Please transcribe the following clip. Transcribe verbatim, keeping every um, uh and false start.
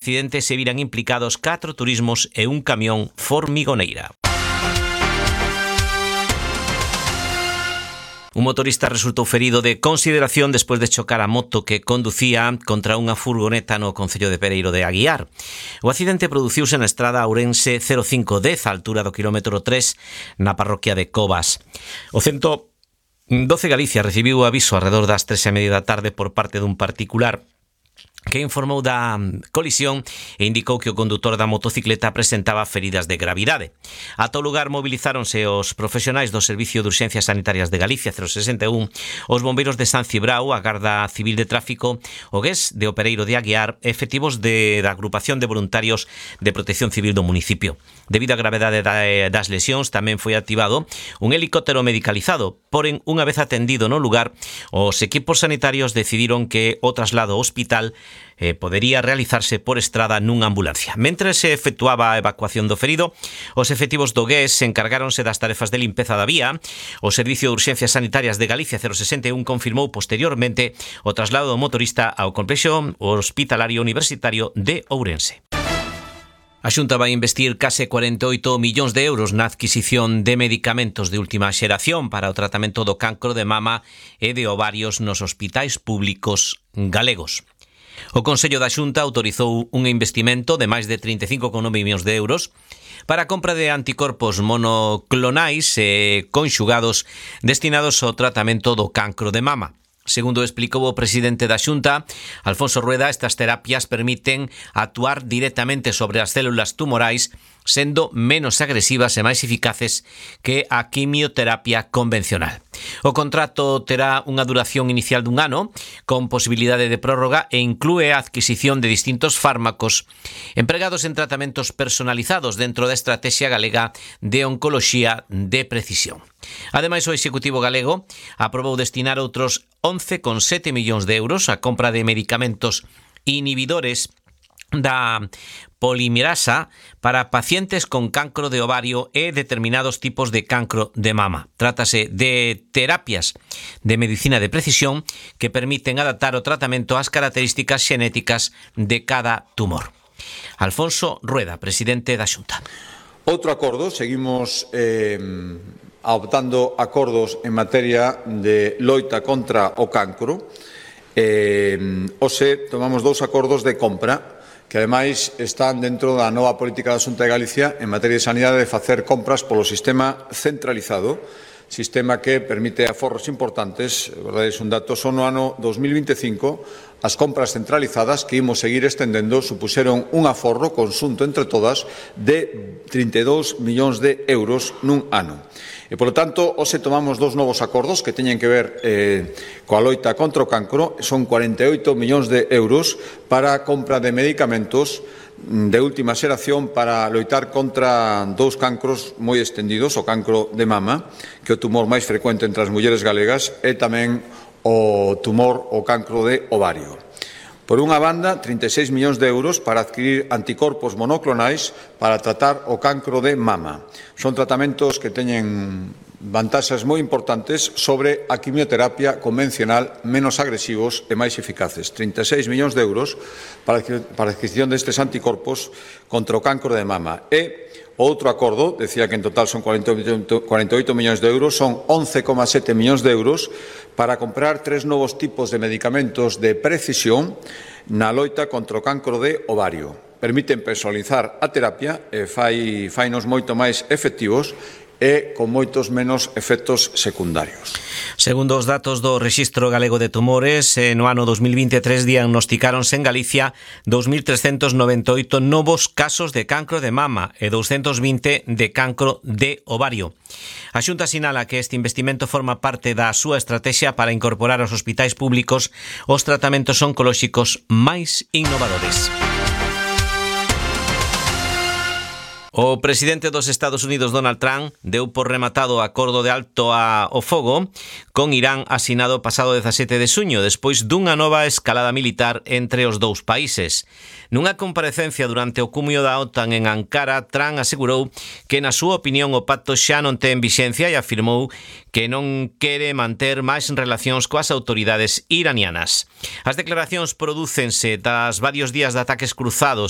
accidente se viran implicados catro turismos e un camión formigoneira. Un motorista resultou ferido de consideración despois de chocar a moto que conducía contra unha furgoneta no concello de Pereiro de Aguiar. O accidente produciuse na estrada Ourense cero cinco dez, á altura do quilómetro tres, na parroquia de Covas. O ciento doce Galicia recibiu o aviso arredor das tres e media da tarde por parte dun particular que informou da colisión e indicou que o condutor da motocicleta presentaba feridas de gravidade. Ata o lugar movilizáronse os profesionais do Servicio de Urxencias Sanitarias de Galicia cero sesenta e un, os bombeiros de San Cibrao, a Garda Civil de Tráfico, o G E S de O Pereiro de Aguiar, efectivos de, da Agrupación de Voluntarios de Protección Civil do municipio. Debido á gravedade das lesións, tamén foi activado un helicóptero medicalizado, porén, unha vez atendido no lugar, os equipos sanitarios decidiron que o traslado ao hospital Eh, podería realizarse por estrada nunha ambulancia. Mentre se efectuaba a evacuación do ferido, os efectivos do G E S encargáronse das tarefas de limpeza da vía. O Servicio de Urxencias Sanitarias de Galicia cero sesenta e un confirmou posteriormente o traslado do motorista ao complexo hospitalario universitario de Ourense. A Xunta vai investir case cuarenta e oito millóns de euros na adquisición de medicamentos de última xeración para o tratamento do cancro de mama e de ovarios nos hospitais públicos galegos. O Consello da Xunta autorizou un investimento de máis de trinta e cinco coma nove millóns de euros para a compra de anticorpos monoclonais e conxugados destinados ao tratamento do cancro de mama. Segundo explicou o presidente da Xunta, Alfonso Rueda, estas terapias permiten actuar directamente sobre as células tumorais, sendo menos agresivas e máis eficaces que a quimioterapia convencional. O contrato terá unha duración inicial dun ano, con posibilidade de prórroga, e inclúe a adquisición de distintos fármacos empregados en tratamentos personalizados dentro da Estrategia Galega de Oncoloxía de Precisión. Ademais, o Executivo galego aprobou destinar outros once coma sete millóns de euros a compra de medicamentos inhibidores da polimerasa para pacientes con cancro de ovario e determinados tipos de cancro de mama. Trátase de terapias de medicina de precisión que permiten adaptar o tratamento ás características xenéticas de cada tumor. Alfonso Rueda, presidente da Xunta. Outro acordo, seguimos eh, adoptando acordos en materia de loita contra o cancro. Eh, hoxe tomamos dous acordos de compra que ademais están dentro da nova política da Xunta de Galicia en materia de sanidade de facer compras polo sistema centralizado, sistema que permite aforros importantes. Verdade, é un dato, só no ano dos mil vinte e cinco as compras centralizadas que imos seguir estendendo supuxeron un aforro conxunto entre todas de trinta e dous millóns de euros nun ano. E, polo tanto, hoxe tomamos dous novos acordos que teñen que ver eh, coa loita contra o cancro. Son cuarenta e oito millóns de euros para a compra de medicamentos de última xeración para loitar contra dous cancros moi extendidos, o cancro de mama, que é o tumor máis frecuente entre as mulleres galegas, e tamén o tumor, o cancro de ovario. Por unha banda, trinta e seis millóns de euros para adquirir anticorpos monoclonais para tratar o cancro de mama. Son tratamentos que teñen vantaxes moi importantes sobre a quimioterapia convencional, menos agresivos e máis eficaces. trinta e seis millóns de euros para a adquisición destes anticorpos contra o cancro de mama. E outro acordo, decía que en total son cuarenta e oito millóns de euros, son once coma sete millóns de euros para comprar tres novos tipos de medicamentos de precisión na loita contra o cancro de ovario. Permiten personalizar a terapia e fai, fainos moito máis efectivos e con moitos menos efectos secundarios. Segundo os datos do Rexistro Galego de Tumores, no ano dos mil vinte e tres diagnosticáronse en Galicia dous mil trescentos noventa e oito novos casos de cancro de mama e douscentos vinte de cancro de ovario. A Xunta sinala que este investimento forma parte da súa estrategia para incorporar aos hospitais públicos os tratamentos oncolóxicos máis innovadores. O presidente dos Estados Unidos, Donald Trump, deu por rematado o acordo de alto ao fogo con Irán asinado o pasado dezasete de xuño, despois dunha nova escalada militar entre os dous países. Nunha comparecencia durante o cumio da OTAN en Ankara, Trump asegurou que, na súa opinión, o pacto xa non ten vixencia e afirmou que non quere manter máis relacións coas autoridades iranianas. As declaracións prodúcense tras varios días de ataques cruzados